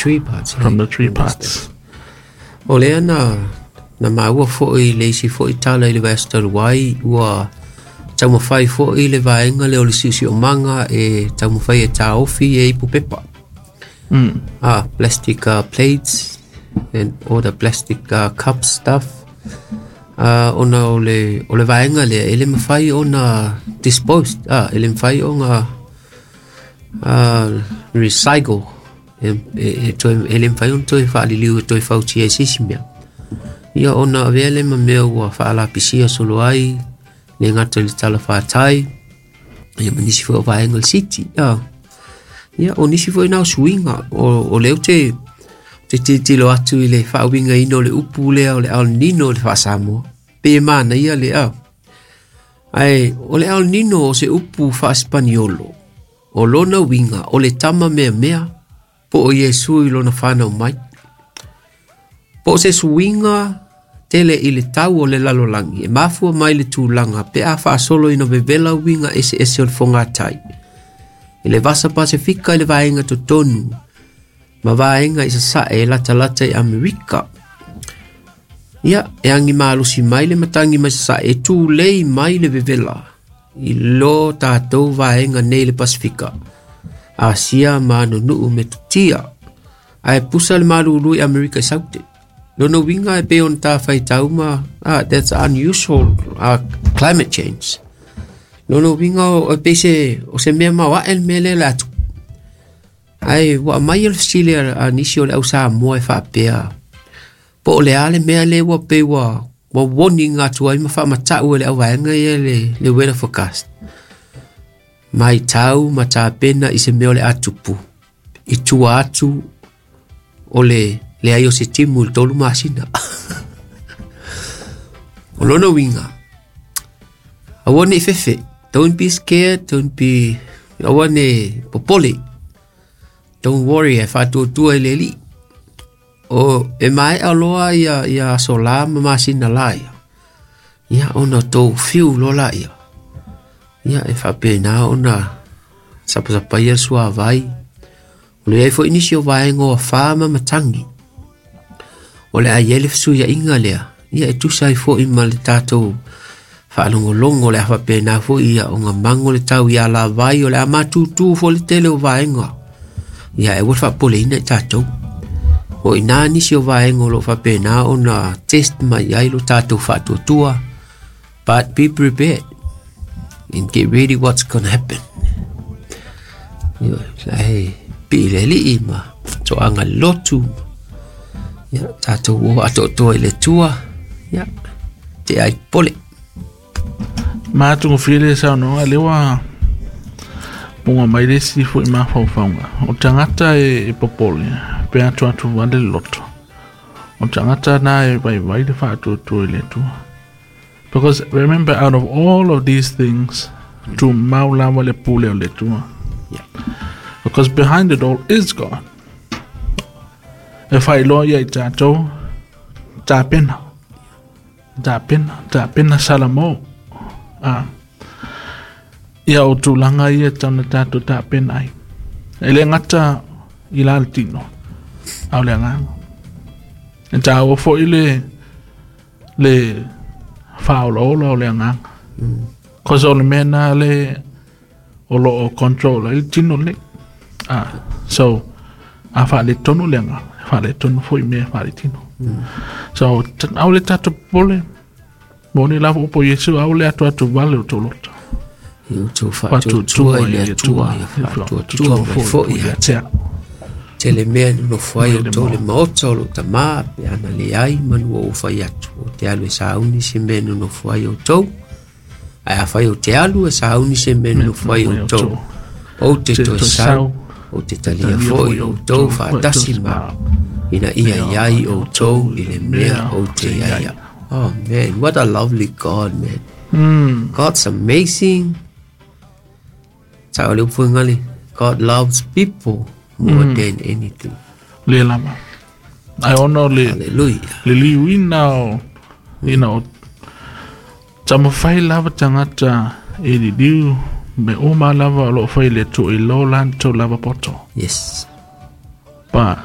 tree parts. From the tree parts. O lea na maua fo'i le isi fo'i tala i le vaiaso talu ai ua taumafai fo'i le vaega lea o le siosiomaga e taumafai e taofi e ipu pepa. Plastic plates and all the plastic cup stuff. Ona o le vaega lea e le mafai ona disposed, e le mafai ona recycle, e le mafai ona toe faaliliu e toe fautia e se isi mea. Ia ona avea le ma mea ua faalapisia solo ai le gata i le talafatai, ia ma nisi foi o vaega o le city. Ia o nisi foi na o suiga o lea ou te tilotilo atu i le faauigaina o le upu lea o le El Nino i le faa-Samoa. Pe e manaia le a. Ae o le El Nino o se upu faa-Espaniolo. O lona uiga o le tama meamea po o Iesu i lona whanau mai. Po o se suiga tele i le tau o le lalolagi e mafua mai le tulaga pe a faasolo ina vevela uiga eseese o le fogatai. I le Vasa Pasifika i le vaega totonu ma vaega i sasae e latalata i Amerika. Ia, e agi malosi mai le matagi mai sasae e tulei mai le vevela i lo tatou vaega nei le Pasifika. Asia ma nunuu me tutia. Ae pusa le malulu i Amerika i Saute. Lona uiga e pei ona tafaitau ma that's unusual climate change. Lona uiga o pei se o se mea maoae le mea lea le atu. Ae ua aumai le fesili a nisi o le au Samoa e faapea po o le a le mea lea ua pei ua warning atu ai ma faamatau e le auvaega ia le weather forecast. Mai tau ma tapena i se mea o le atupu. I tua atu o le leai o se timu i le 3 masina. O lona uiga, aua ne i fefe. Don't be scared, don't be... Aua ne popole. Don't worry, e faatuatua i le alii. O e maea loa ia aso la ma masina la ia. Ia ona tou fiu loa la ia. Ia e faapena ona sapasapaia le suavai. O le ai foi nisi o vaega o afa ma matangi. O le a i ai le fesuiaiga lea. Ia e tusa ai foi ma le tatou faalogologo o le a faapena foi ia ona mago le tau ia lavai o le a matutu foi le tele o vaega. Ia e ua le faapoleina i tatou. O ina nisi o vaega o lo faapena ona test mai ai lo tatou faatuatua. But be prepared and get ready what's gonna happen. Ia, e pii le alii ma toaga le lotu. Ia, tatou o atoatoa i le tua. Ia, te ai pole. Maatugofie le saunoaga lea ua puga mai le isi fo'i mafaufauga. O tagata e popole pe atuatu vale le loto. O tagata na e vaivai le faatuatua i le Atua. Because remember, out of all of these things, tumau lava le pule o le Atua. Yeah. Because behind it all is God. E faailoa ia i tatou tapena. Tapena, tapena Salamo. Ia o tulaga ia tauna tatou tapena ai. E le gata i la le tino, a o le agaga. E taua fo'i le faaolaola o le agaga. Cause o le mea na le o lo o control ai le tino lenei. So, a faaletonu le agaga, faaletonu fo'i mea faaletino. So, au le tatou popole, moni lava upu o Iesu, au le atu vale o tou loto. Ia outou faatuatua i le Atua, ia faatuatua mai foi ia te au. Tele mea nonofo ai outou le maota o lou tamā, pe ana leai manu o ou fai atu. O te alu e sauni se mea nonofo ai outou. Ae afai ou te alu e sauni se mea nonofo ai outou. Ou te toe sau, ou te talia foi outou faatasi ma ina ia iai outou i le mea ou te iai au. Oh man, what a lovely God, man. God's amazing. Sao le upu ngali, God loves people more than anything. Le lava. Ai ono le Hallelujah. Le liuina o ina o tamafai lava tagata e liliu me uma lava o loo fai le Atua i lo latou lava poto. Yes. But